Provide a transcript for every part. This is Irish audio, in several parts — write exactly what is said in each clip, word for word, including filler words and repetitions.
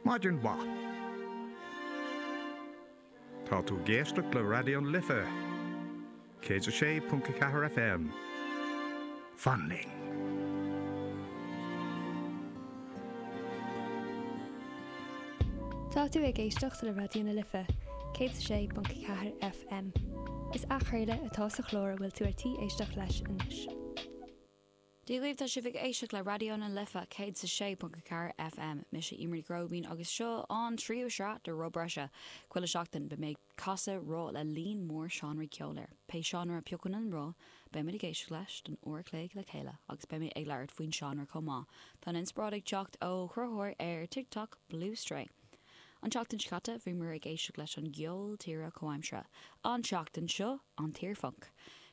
Maidin mhaith. Tá tú ag éisteacht le Raidió na Life, céad a sé ponc a ceathair FM. Fan linn. Tá tú ag éisteacht le Raidió na Life, céad a sé ponc a ceathair FM. Is athchraoladh atá sa chlár a bhfuil tú ar tí éisteacht leis anois. Dia dhaoibh, tá sibh ag éisteacht le Raidió na Life céad is a sé ponc a ceathair FM. Mise Eimear Ní Ghróibín agus seo an tríú sraith de Roth Breise. Chuile seachtain beidh mé ag casadh roth le líon mór seánraí ceoil air. Pé seánra a phiocann an roth, beidh muid ag éisteacht leis don uair a chloig le chéile agus beidh mé ag labhairt faoin seánra chomh maith. Tá an inspioráid ag teacht ó chruthaitheoir ar TikTok, Blue Stray. An tseachtain seo caite, bhíomar ag éisteacht leis an gceol tíre comhaimseartha. An tseachtain seo, an t-iarphunc.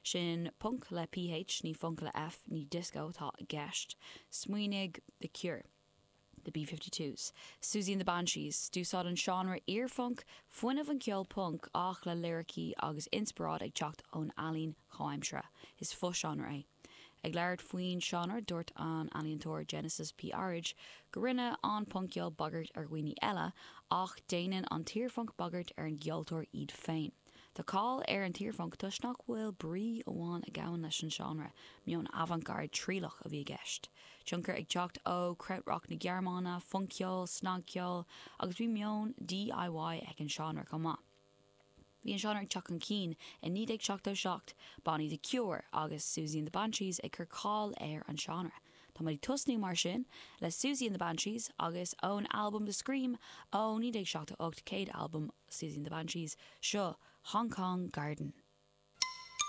Sin punc le PH, ní func le F, ní disco atá i gceist. Smaoinigh The Cure. The B fifty twos. Siouxsie and the Banshees. D'úsáid an seánra iarphunc fuinneamh an cheoil punc ach le liricí agus inspioráid ag teacht ón ealaín chomhaimseartha. Is fo-seánra é. Ag labhairt faoin seánra, dúirt an ealaíontóir Genesis P-Orridge go rinne an punc-cheol bagairt ar dhaoine eile, ach déanann an t-iarphunc bagairt ar an gceoltóir iad féin. Tá cáil ar an t-iarphunc toisc nach bhfuil brí amháin a ghabhann leis an seánra, meon avant-garde trialach a bhí i gceist. Tionchar ag teacht ó Krautrock na Gearmáine, func-cheol, snagcheol, agus bhí meon DIY ag an seánra chomh maith. Bhí an seánra ag teacht chun cinn i naoi déag seachtó seacht, bannaí The Cure agus Siouxsie and the Banshees ag cur cáil ar an seánra. Tá muid ag tosnú mar sin le Siouxsie and the Banshees agus ón albam The Scream ó naoi déag seachtó ocht, céad albam Siouxsie and the Banshees, seo Hong Kong Garden.